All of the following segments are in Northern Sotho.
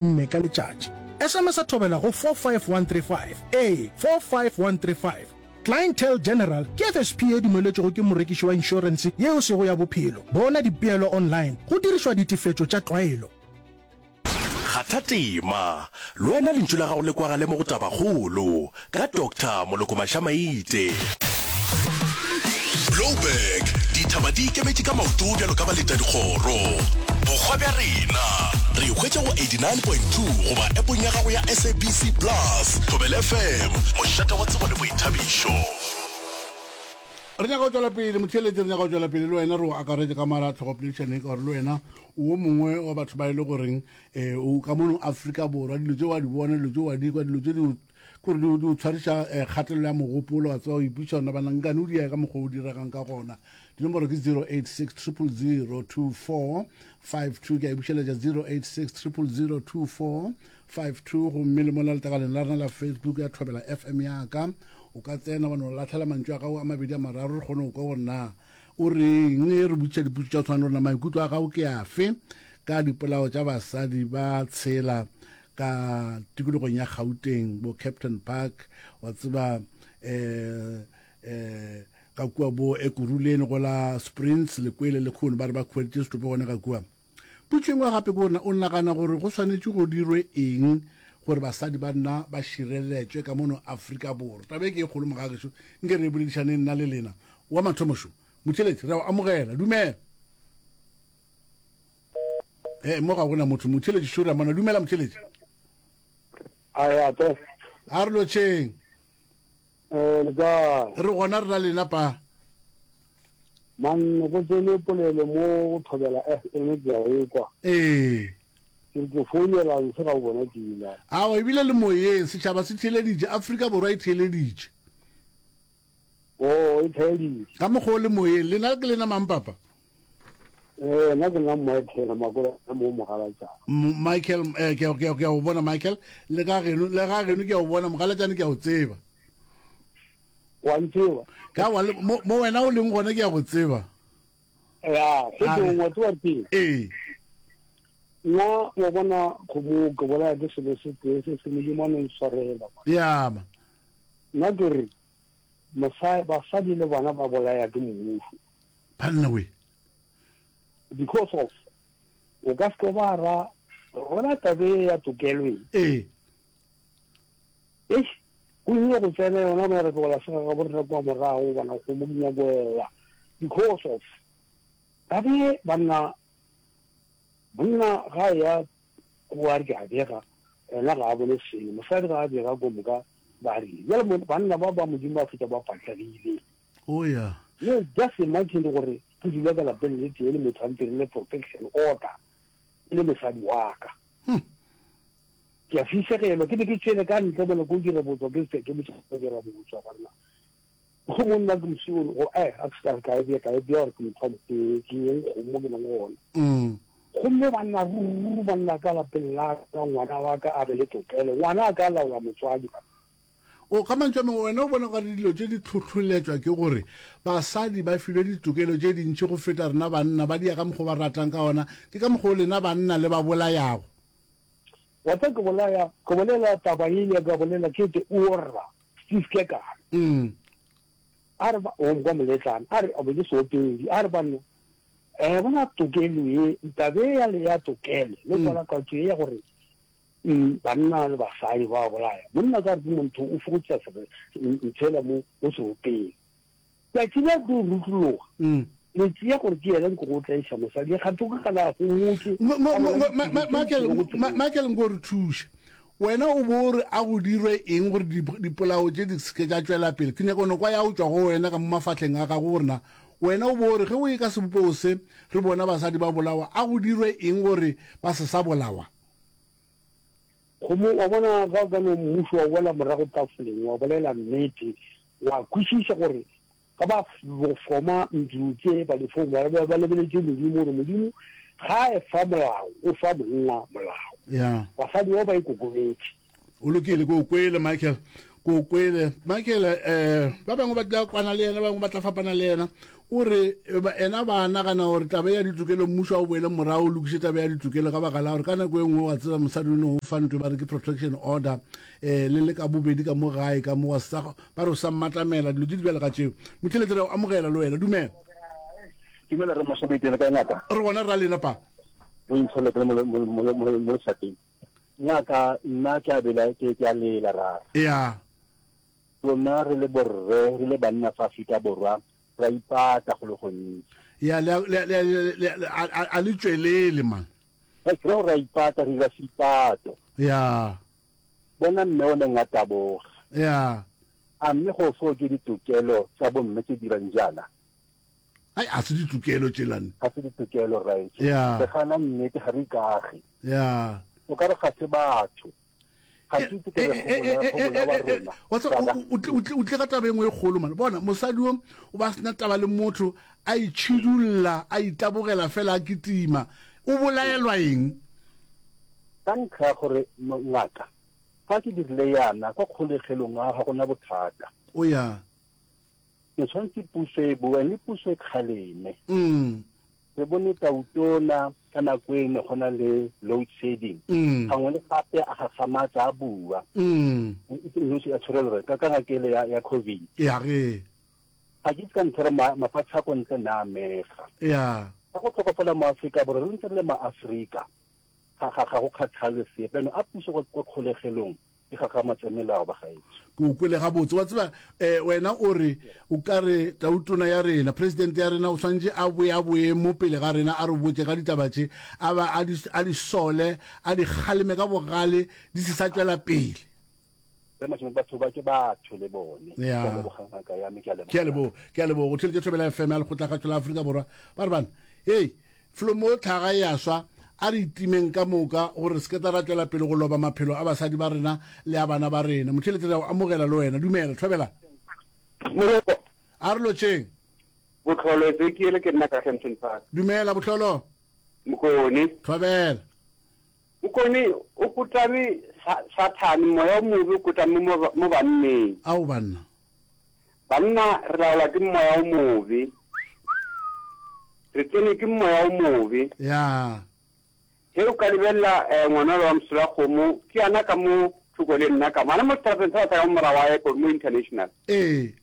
Nne ka letšatši. SMS-a thobela go 45135. Ee, 45135. Clientele General ke FSP ye dumeletšwego ke morekiši wa inšorense ye e sego ya bophelo. Bona dipeelo online go dirišwa ditefetšo tša tlwaelo. Kgatha tema, le wena lentšu la gago le kwagale mo go Tabakgolo ka Doctor Moloko Mašamaite. Blouberg, dithaba di ikemetše ka maoto bjalo ka baletadikgoro. Bokgwa bja rena re e hwetša go 89.2 goba appong ya gago ya SABC Plus. Thobela FM, mošate wa tsebo le boithabišo. Re nyaka go tšwela pele motheeletši, re nyaka go tšwela pele le wena re o akaretše ka mara tlhogopoledišaneng ka gore le wena o wo mongwe wa batho ba e le goreng um o ka mono Afrika Borwa dilo tše wa di bona dilo tše wa di kwa dilo tše di kore di o tshwariša eh, kgatelelo ya mogopolo wa tseba o ipotšiša gona bana nkane o dia ka mokgwa o diregang ka gona dinomoro ke 086 000 2452 ke a e bušeletša 086 000 2452 gomme le mola letlakaleng la rena la facebook ya thobela fm yaka o ka tsena wa no latlhela mantšu a gago a mabedi a mararo re kgone go kwa gore na o reng re botšiša dipotso tša tshwana le rona maikutlo a gago ke afe ka dipolao tša basadi ba tshela ka tikologong ya Gauteng bo Captain Park wa tseba eh eh ka kua bo Ekurhuleni go la Springs le kwele le kgono ba re ba khweditše setopo gona ka kua potšo engwe gape ke gore o nagana gore go swanetše go dirwe eng gore basadi ba nna ba šireletšwe ka mono Afrika Borwa taba e ke e kgolo mogagešo nke re e boledišaneng nna le lena wa mathomošo motheletši re a o amogela dumela Eh, mo ga gona motho motheletši sure mona dumela motheletši a te a re lotšheng eh le kae re gona re na lena pa man go tsene polelo mo go thobela fm ke a e kwa ee ke ke founela nse ga o bona pila awa ebile le moyeng setšhaba se theeleditše afrika borwa e theeleditše o e theeleditše ka mokgwa o le moyeng lena ke lena mang papa Eh, nna ke nna Michael Makola mo Mogalatšane. Michael, eh, ke ke ke o bona Michael, le ka geno, le ga geno ke o bona Mogalatšane ke a o tseba. Wa ntseba? Ka wa mo, mo wena o leng gona ke a go tseba. Ya, go ke ngwa tseba ke. Ee. Nna wa bona kgomo ke bolaya ke selo se tee se se modimo a no ntshwarela. Ya ma. Nna ke re basadi le bona ba bolaya ke mmušo. Banna we. Because of o ka se ba ra gona tabe ya tokelo e. Ee. Eish, go ile go tsena yona mo re tlola se ga borena kwa morago bona go mo nyakoela because of tabe banna monna ga ya kwa re ke a bega ena ga a bone selo mosadi ga a bega ko moka ba re jale banna ba ba modimo ba feta ba patlegile Oh yeah. No, just imagine gore ke dula ka lapeng le tee le motho a ntirile protection order e le mosadi wa ka. Hmm. Ke a fišegelwa ke be ke tšwele ka ntle mola ko dira botswa ke se ke botsa go dira botswa banna. Go monna ke mosigo go eh a se ka ka e ka e bea gore ke motho ke ke eng kgomo ke nang gona. Mm. Gomme banna ruri banna ka lapeng la ka ngwana wa ka a be le tokelo ngwana a ka laola motswadi. O, ka mantšu a mangwe, wena o bona gore dilo tše di hlohloletšwa ke gore basadi ba filwe ditokelo tše dintši go feta rena banna, ba dia ka mokgwa o ba ratang ka gona, ke ka mokgwa o lena banna le ba bolayago. Wa tseba ke bolaya, ke bolela taba ye ka bolela ke te orra, Steve Kekana. Mm. A re ba, o kwa moletlana, a re, a be ke seopedi, a re banna, eh, bona tokelo ye, taba ye ya le ya tokelo, le kwalakwatšo ye ya gore Banna le basadi ba bolaya. Monna ka re ke montho o fokotša ntshela mo mo seropeng. Tšatši la tlo rutlologa. Le tšea gore ke yena nko go tlaiša mosadi ga to ka la homotše. Michael Michael nko re thuše. Wena o bo re a go dirwe eng gore dipolao tše di seke tša tšwela pele. Ke nyaka no kwa ya o tšwa go wena ka mo mafahleng a gago gore na wena o bo re ge o e ka sebopego se re bona basadi ba bolawa a go dirwe eng gore ba se sa bolawa. Kgomo, wa bona, ga o ka no mmušo wa boela morago tafoleng, wa bolela nnete, wa kwešiša gore ga ba foma ntlo tše ba di foma, ba, ba lebeletše Modimo, gore Modimo ga a efa molao, o fa monna molao. Yeah. Basadi bao ba ikokobetše. O lokile, ke o kwele, Michael. Ke o kwele. Michael, eh, ba bangwe ba tla kwana le yena, ba bangwe ba tla fapana le yena. O re ena ba nagana gore taba ya ditokelo mmušo a o boele morago o lokiše taba ya ditokelo ka baka la gore ka nako e nngwe wa tseba mosadi o no fa ntho ba re ke protection order um le le ka bobedi ka mo gae ka mo wa sa ba re o sa mmatamela dilo tse di bjale ka tšeo. Motheletši re a o amogela le wena dumela. Dumela re Mošomedi le kae ngaka? Re gona ra lena pa. O intshole ke mo mo mo mo lefateng. Ngaka nna ke a bela ke ke a lela ra. Ya. Rona re le borre re le banna fa Afrika Borwa ra ipata go le gontsi. Ya le le le le a le tšwelele man. Re ke ra ipata re dira seipato. Ya. Bona mme o neng a taboga. Ya. A mme go fo ke ditokelo tsa bomme tse dirang jaana? Ai a se ditokelo tšelane. Ga se ditokelo rraetsho. Ya. Re gana nnete ga re ikage. Ya. O ka re ga se batho. Ga ke itse ke re go bolawa rona. Wa tseba o tle ka taba e nngwe e kgolo man. Bona mosadi o o ba sena taba le motho a itšhidulla a itabogela fela a kitima. O bolaelwa eng? Ka ntlha ya gore ngaka fa ke dirile yana kwa kgolegelong a ga gona bothata. O ya. Ke tshwanetse puso e boe le puso e kgaleme. Re bone Tautona ka nako e ne go na le load shedding. Gangwe le gape a gagamatsa a bua. Ka ka ngakele ya ya COVID. Ya ge. Ga ke itse ka ntlha gore mafatshe a ko ntle ne a amega. Ya. Ga go tlhokofala mo Aforika Borwa re ntse re le ma-Aforika ga ga ga go kgathale sepe. Jaanong a puso kwa kgolegelong e gagamatse melao bagaetsho. Ke o kwele gabotse. Wa tseba, um wena o re o ka re tautona ya rena, president ya rena o swanetše a boe a boe mo pele ga rena a re botše ka ditaba tše, a ba a di, a di sole, a di kgaleme ka bogale di se sa tšwela pele. Re Mashome, batho ba ke batho le bone. Ya. Ke a leboga ngaka ya me, ke a leboga. Ke a leboga, ke a leboga. O theletše Thobela FM ya Lekgotlakgašo la Afrika Borwa. Ba re bana, hei, Felo mo tlhaga e a swa, a re itimeng ka moka gore re se ke ra tšwela pele go loba maphelo a basadi ba rena le a bana ba rena. Motheeletši, re a go amogela le wena. Dumela, thobela. Moreko. A re lotšeng. Bohlolo, Ezekiel, ke nna ka Kempton Park. Dumela, Bohlolo. Mokone. Thobela. Mokone, o kotame Sathane, moya o mobe o kotame mo banneng. Ao banna. Banna re laolwa ke moya o mobe. Re tsenwe ke moya o mobe. Ya. Ge o ka lebelela eh, ngwana wa Mosolakgomo, ke yana ka mo thoko le nna ka mo. Ana mo seterateng sa sa ka mo morago wa airport mo international. Ee.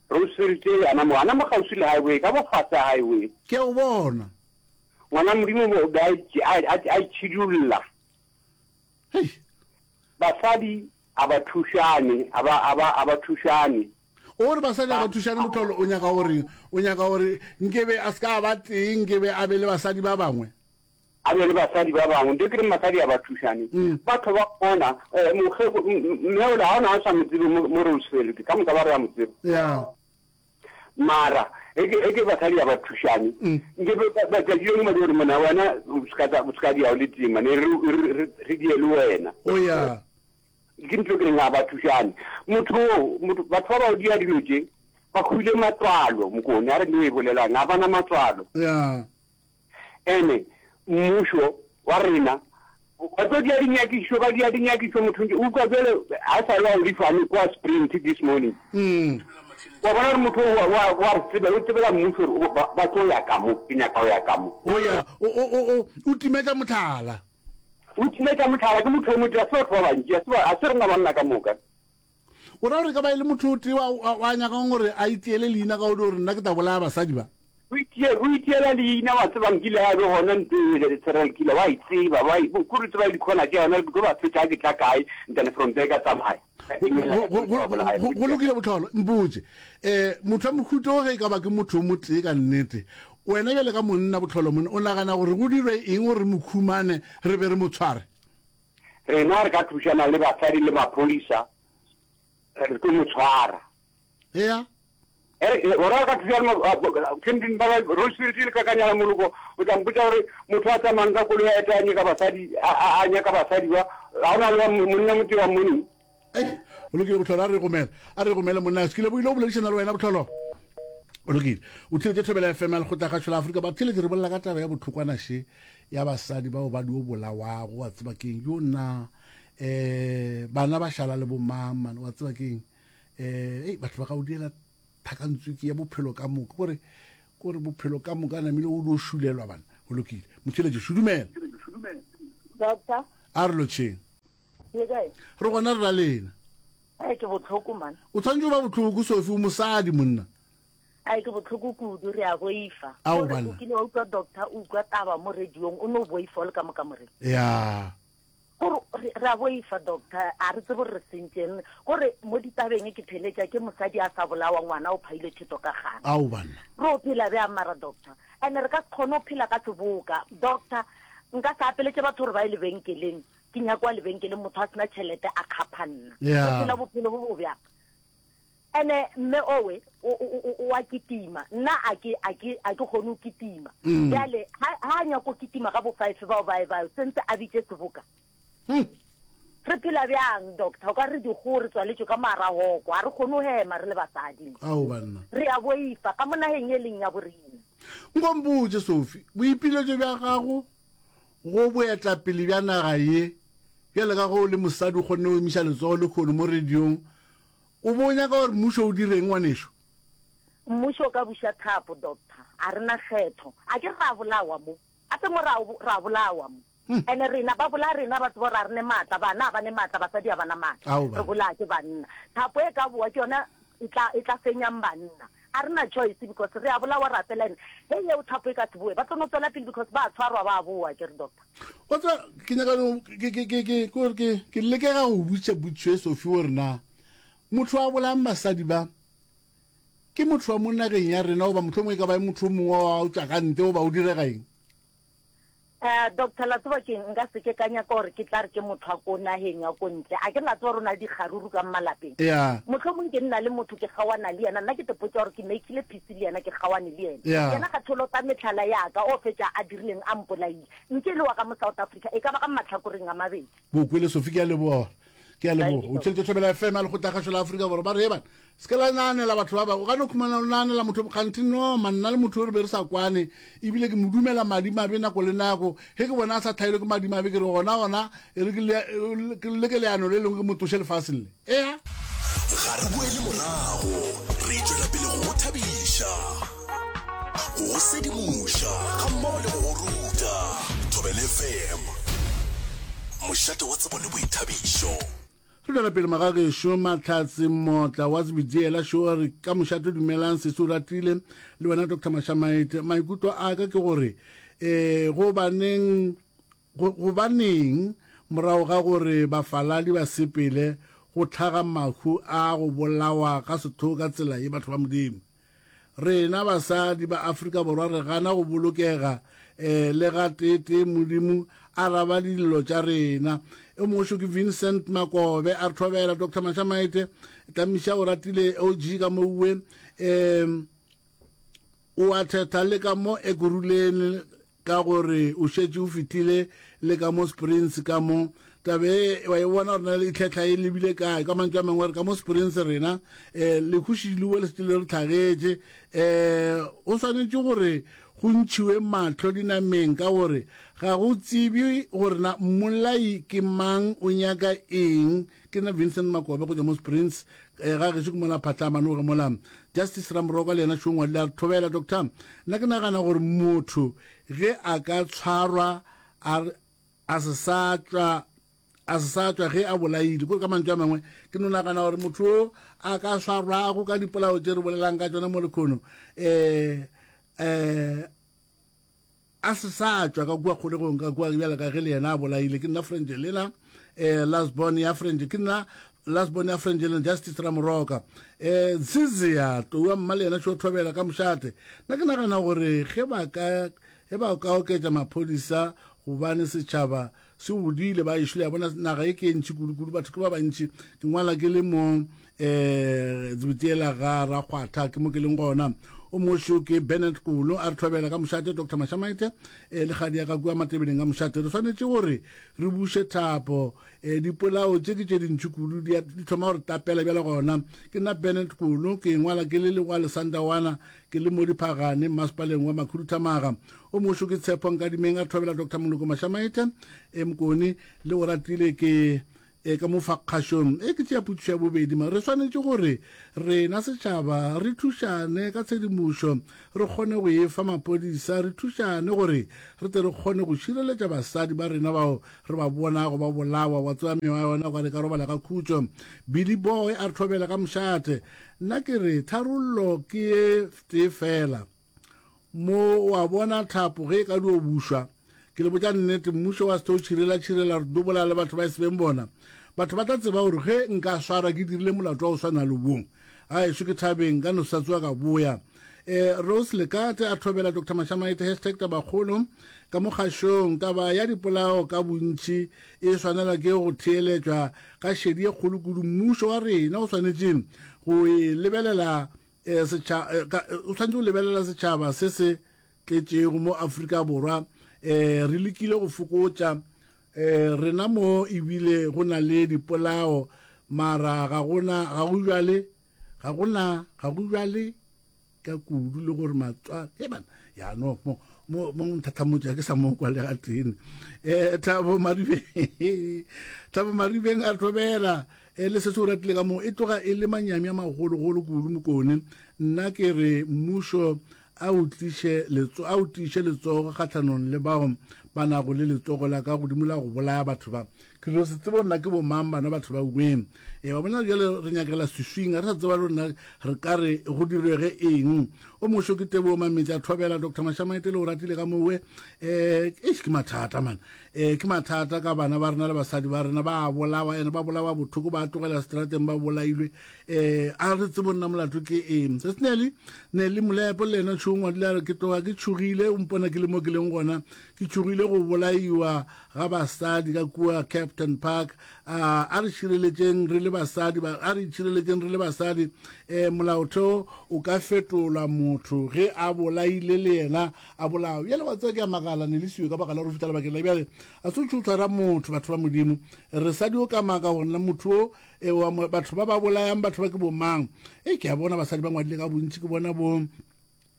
Re o sweritse yana mo, ana mo kgauswi le highway, ka mo fase ga highway. Ke a o bona. Ngwana Modimo o be a a itšhidulla. Hei. Basadi A ba thušane, a ba, a ba, a ba thušane. O re basadi a ba thušane mohlolo, o nyaka go reng? O nyaka gore nkebe a se ka a ba tee, nkebe a be le basadi ba bangwe? A be le basadi ba bangwe. Nto ke reng basadi a ba thušane. Batho ba bona, eh, mokgeko, mme ola, ga o na a sa mo tsebe mo, mo Roseville, ka moka ba re a mo tseba. Ya. Mara, e ke, e ke basadi a ba thušane. Nkebe ba, tšatši le lengwe ba di gore, monna wena, o se ka tla, o se ka dia o le tee, mane, re, re, re, re die le wena. O ya. Ke ntho ke reng ga ba thušane. Motho o, motho, batho ba ba dia dilo tše, ba hwile matswalo, Mokone, a re no e bolelang, ga ba na matswalo. Ya. Ene, mmušo wa rena, ba tlo dia dinyakišišo, ba dia dinyakišišo, motho ntše, utlwa bjale, ga e sa le wa o lifane kwa Sprint this morning. Mm. Wa bona gore motho wa, wa, wa re tsebela, o tsebela mmušo gore ba, ba tlo ya ka mo, ke nyaka go ya ka mo. O ya, o, o, o, o, o timetša mohlala. O timetša mohlala, ke motho o motee, a se batho ba bantši, a se ba, a se rena banna ka moka. O ra gore e ka ba e le motho o tee wa, wa, wa nyakang gore a itiele leina ka o di gore nna ke tla bolaya basadi ba? O itie, o itiela leina, wa tseba nkile ya be gona ntho e serial killer, wa e tseba, wa e, kore o tseba dikhona tša yona, ke tlo ba fetša ke tla kae, then from there ka tsamaya. Go lokile Botlholo, mpotše, um motho wa mohuta o ge e ka ba ke motho o motee ka nnete, wena bjale ka monna Botlholo monna, o nagana gore go dirwe eng gore re mo khumane re be re mo tshware? Rena re ka thušana le basadi le maphodisa, re tlo mo tshwara. Ea. Gora re ka thušana le ba ba Rose le ka kanyana moloko, o tla mpotša gore motho a tsamayang ka koloi a eta a nyaka basadi, a nyaka basadi ba, ga go na le monna motee wa mmoneng. Ei, o lokile Bohlolo, a re gomele, a re gomele monna, se kile bo ile go boledišana le wena Bohlolo. O lokile. O theletše Thobela FM ya Lekgotlakgašo la Afrika. Ba theletše re bolela ka taba ya bohlokwana še ya basadi bao ba dio bolawago, wa tseba keng, yo nna eh bana ba šala le bomang man, wa tseba keng. Eh, ei batho ba ka o diela thakantswiki ya bophelo ka moka gore. Ko re bophelo ka moka namile o dio šulelwa bana. Go lokile. Motheeletši, šudumela. Doctor. A re lotšheng. Le kae? Re gona re ra lena. Ai ke bohloko man. O tshwanetse o ba bohloko Sophie o mosadi monna. Ai ke bohloko kudu re a boifa. Ao banna. O kile wa utlwa doctor o utlwa taba mo radiong o no boifa o le ka mo kamoreng. Ya. Gore re a boifa doctor a re tsebe gore re sentšeng gore mo ditabeng ke theletša ke mosadi a sa bolawa ngwana o phaile theto ka gana. Ao banna. Re o phela bjang mara doctor? And re ka se kgone go phela ka seboka doctor nka se apeletše batho gore ba ye lebenkeleng ke nyakwa lebenkeleng motho a sena tšhelete a kgapha nna. Yeah. Re phela bophelo bo bo bjang? Ene mme owe o a kitima nna a ke a ke a ke kgone go kitima mm. bjale ha a nyako kitima ga bo five bao ba e ba sentse a bitše seboka hmm. re phela bjang doctor o ka re dikgoo re tswaletšwe ka marahoko ga re kgone go hema re le basadi ao banna re a boifa ka mo nageng e leng ya borena nkompotse sophie boipiletšo bja gago go boetapele bja naga ye bjale ka go le mosadi o kgonne go emiša letsogo lehono mo radiong O be o nyaka gore mmušo o direng, ngwanešo? Mmušo o ka buša thapo, Doctor. A re na kgetho. A ke re ra bolawa mo? Gape mo ra, ra bolawa mo. Ene rena, ba bolaya rena, ba tseba gore a re ne maatla, bana a ba ne maatla, basadi a ba na maatla. Ao, Re banna. bolaya ke banna. Thapo e ka bowa, ke yona e tla, e tla fenyang banna. A re na choice because re a bolawa ra fela. Ene ge yeo thapo e ka se bowe, ba tlo no tswela pele because ba a tshwarwa, ba a bowa, akere, Doctor? Wa tseba, ke nyaka no, ke, ke, ke, ke, ke gore ke, ke lekega go botšiša potšišo e Sophie gore na motho a bolayang basadi ba ke motho wa mo nageng ya rena goba mohlomongwe e ka ba e motho o mongwe wa o tšwa ka ntle goba o direga eng? Eh, Doctor, la tseba keng, nka se ke ka nyaka gore ke tla re ke motho wa ko nageng ya ko ntle. A ke re la tseba gore o na le dikgaruru ka malapeng. Ya. Mohlomong ke nna le motho ke kgaoana le yena, nna ke tepotša gore ke makile peace le yena, ke kgaoane le yena. Ya. Yena ga tholota mehlala ya ka, o fetša a dirileng a mpolaile. Nke e le wa ka mo South Africa, e ka ba ka mahlakoreng a mabedi. Bo kwele Sophie, ke a leboga. Ke a leboga. O theletše Thobela FM ya Lekgotlakgašo la Afrika Borwa. Ba re, Heban, se ke la naanela batho ba bangwe. O ka no khumana o naanela motho kganthe no man, nna le motho re be re sa kwane. Ebile ke mo dumela madimabe nako le nako. Ge ke bona a sa hlaelwe ke madimabe, ke re gona gona e re ke leke leano le lengwe ke mo tloše lefaseng le. Ea. Ga re boele morago, re tšwela pele go go thabiša, go go sedimoša gammogo le go go ruta. Thobela FM, mošate wa tsebo le boithabišo. Re tšwela pele magagešo Mahlatse Mmotla wa Zebediela šo a re ka mošate dumelang sesi o ratile le wena Doctor Mashamaite maikutlo a ka ke gore um gobaneng Go, gobaneng, morago ga gore bafaladi ba sepele, go hlaga mahu a go bolawa ga sehlogo ka tsela ye, batho ba Modimo? Rena basadi ba Afrika Borwa re gana go bolokega eh, le gateetee Modimo araba dillo tša rena. E mongwe šo ke Vincent Makobe a re thobela Doctor Mashamaite Tlamiša o ratile OG ka mouwe um o a thetha le ka mo Ekurhuleni Ka gore o šetše o fihlile le ka mo Springs ka mo. Taba e wa e bona gore na e tlhetlha e lebile kae. Ka mantšu a mangwe re ka mo Springs rena um lehu šilowe le šetše le re hlagetše. Um go swanetše gore go ntšhiwe mahlo dinameng ka gore ga go tsebje gore na mmolai ke mang o nyaka eng. Ke nna Vincent Makobe go tšwa mo Springs eh, ga gešo ke mola Phatlhamanoge mola. Justice Ramoroka le yena šo ngwadile a re thobela doctor nna ke nagana gore motho ge a ka tshwarwa a a se sa tšwa a se sa tšwa ge a bolaile kore ka mantšu a mangwe ke no nagana gore motho o a ka swarwago ka dipolao tše re bolelang ka tšona mo lekhono um um A se sa tšwa ka kua kgolegong ka kua bjale ka ge le yena a bolaile. Ke nna Frangelina, eh, last born ya Frange, ke nna last born ya Frangelina Justice Ramoroka. Eh, Zizia, tou wa mma le yena šo thobela ka mošate. Nna ke nagana gore ge ba ka, ge ba ka oketša maphodisa gobane setšhaba se godile ba ešo le ya bona naga e ke e ntši kudu-kudu batho ke ba bantši ke ngwala ke le mo um tsebetiela ga rakgwatha ke mo ke leng gona o mošo ke bennett kolo a re thobela ka mošate dr mashamaite um le kgadi ya ka kua matebeleng ka mošate re swanetše gore re buše thapo um dipolao tše ke tše dintši kudu di thoma gore tapela bjale gona ke nna bennett kolo ke ngwala ke le legwa lesandawana Ke le mo Diphagane, mmasepaleng wa Makhuduthamaga. O mošo ke Tshepo Nkadimeng a thobela Doctor Moloko Mashamaite e Mokone le o ratile ke E, ka mo fa kgašong e ke tšea potšišo ya bobedi ma re swanetše gore rena setšhaba re thušane ka tshedimošo re kgone go e fa maphodisa re thušane gore re tle re kgone go šireletša basadi ba rena bao re ba bonago ba bolawa wa tseba mewa ya yona gore ka robala ka khutšo Billy Boy a re thobela ka mošate nna ke re tharollo ke ye tee fela Mo wa bona thapo ge e ka dio bušwa. Ke le botša nnete, mmušo wa se tlo tšhirelatšhirela re dobola le batho ba e se beng bona. Batho ba tla tseba gore ge nka swarwa ke dirile molato wa go swana le wo. Gaešo ke thabeng, nka no se sa tsoga ka boya. E, Rose Lekate a thobela Doctor Mashamaite hashtag tabakgolo ka mo kgašong. Taba ya dipolao ka bontši e swanelwa ke go theeletšwa ka šedi ye kgolo kudu. Mmušo wa rena o swanetše go e lebelela Eh, setšha, eh, ka, eh, o swanetše go lebelela setšhaba se se tletšego mo Afrika Borwa. Eh, re lekile go fokotša eh, rena mo ebile go na le dipolao mara ga gona ga go bjale ga gona ga go bjale ka kudu le gore matswa e bana ya no mo mo mo nthathamotša ke sa mo kwa le ga tene eh thabo maribeng thabo maribeng a thobela E le se se o ratile ka moo, e tloga e le manyami a magologolo kudu Mokone. Nna ke re mmušo a o tliše letso, a o tiiše letsogo kgahlanong le bao ba nago le letsogo la ka godimo la go bolaya batho ba. Ke no se tsebe gore na ke bomang bana batho ba weng. E, wa bona bjale re nyakela swiswing, ga re sa tseba le rona re ka re go direge eng. O mošo ke Tebogo Mametša Thobela, Doctor Mashamaite le o ratile ka mowe. Eh, eish ke mathata man. Ee, ke mathata ka bana ba rena le basadi ba rena, ba a bolawa, ene ba bolawa bothoko, ba tlogela seterateng ba bolailwe. Um a re tsebo nna molato ke eng. Se se Nelly, Nelly Molepo le yena tšho ngwadile a re ke tloga ke tšhogile, o mpona ke le mo ke leng gona, ke tšhogile go bolaiwa ga basadi ka kua Captain Park. A a re šireletšeng re le basadi, a re itšhireletšeng re le basadi. Um molaotheo o ka fetolwa motho ge a bolaile le yena a bolawa. Bjale wa tseba ke a makala Nelisiwe ka baka la gore o fihla lebakeng la bjale a se o tšho tshwara motho. Batho ba Modimo re sa dio ka maka gore na motho o e, wa batho ba ba bolayang batho ba ke bomang. E ke a bona basadi ba ngwadile ka bontši ke bona bo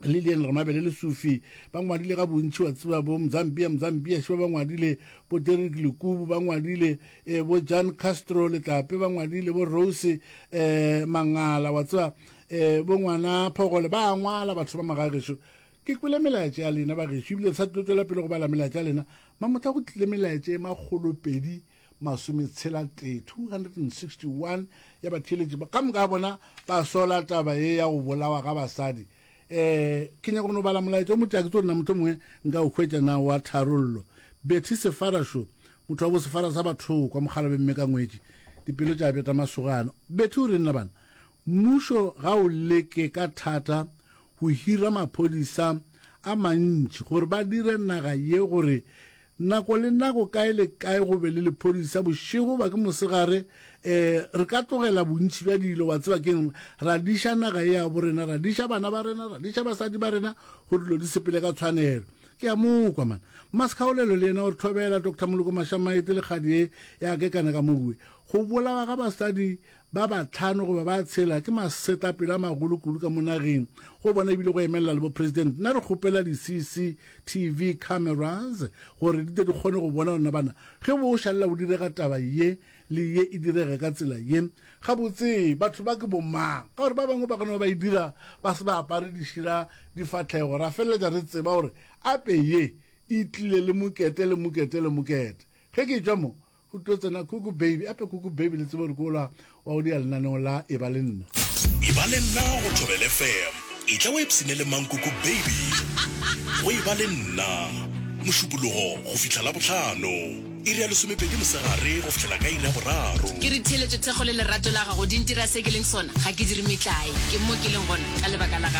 Lilian Ramabele le Sufi ba ngwadile ka bontši wa tseba bo Mzambia Mzambia šiba ba ngwadile bo Derek Lekubu ba ngwadile e, bo Jan Castro Letlape ba ngwadile bo Rose e, Mangala wa tseba e, bo ngwana Phogole ba ngwala batho ba magagešo Ke kwele melaetša ya lena bagešo, ebile re sa tlo tšwela pele go bala melaetša ya lena. Mamotla go tlile melaetša e makgolopedi masometshela-tee, 261, ya batheeletši ba ka moka ga bona ba sola taba ye ya go bolawa ga basadi. Um ke nyaka go no bala molaetša o motee, a ke tsebe gore na mohlomongwe nka o hwetša na wa tharollo. Betty Sefara šo, motho wa bo Sefara sa Bathokwa, mokgalabje mme ka ngwetši, dipelo tša beta masogana. Betty o reng na bana? Mmušo ga o leke ka thata go hira maphodisa a mantši gore ba dire naga ye gore nako le nako kae le kae go be le lephodisa bošego goba ke mosegare. Um re ka tlogela bontši bja dilo, wa tseba ke'ng, ra diša naga ye ya bo rena, ra diša bana ba rena, ra diša basadi ba rena gore dilo di sepele ka tshwanelo. Ke a mo kwa, man. Mmasekgaolelo le yena o re thobela, Doctor Moloko Mashamaite le kgadi ye ya kekana ka mowe. Go bolawa ga basadi Ba bahlano goba ba tshela ke masetlapelo a magolo kudu ka mo nageng go bona ebile go emelela le bo president. Nna re kgopela di CCTV cameras gore di tle di kgone go bona rena bana ge bo šalela bo direga taba ye le ye e direge ka tsela ye. Gabotse batho ba ke bo mang? Ka gore ba bangwe ba ka no ba e dira ba se ba apare dišira difahlego ra feleletša re tseba gore ape ye e tlile le mokete le mokete le mokete. Ge ke etšwa mo Go tlo tsena Kuku Baby, ape Kuku Baby le tsebe gore ke ola wa go dia lenaneo la Eba le Nna. Eba le nna go Thobela FM. Etla o ipshine le Mankuku Baby go Eba le Nna, Mošupologo go fihla Labohlano, iri ya lesomepedi mosegare go fihlela ka iri ya boraro. Ke re theeletšo, thekgo le lerato la gago di ntira se ke leng sona. Ga ke dire metlae. Ke mo ke leng gona ka lebaka la gago.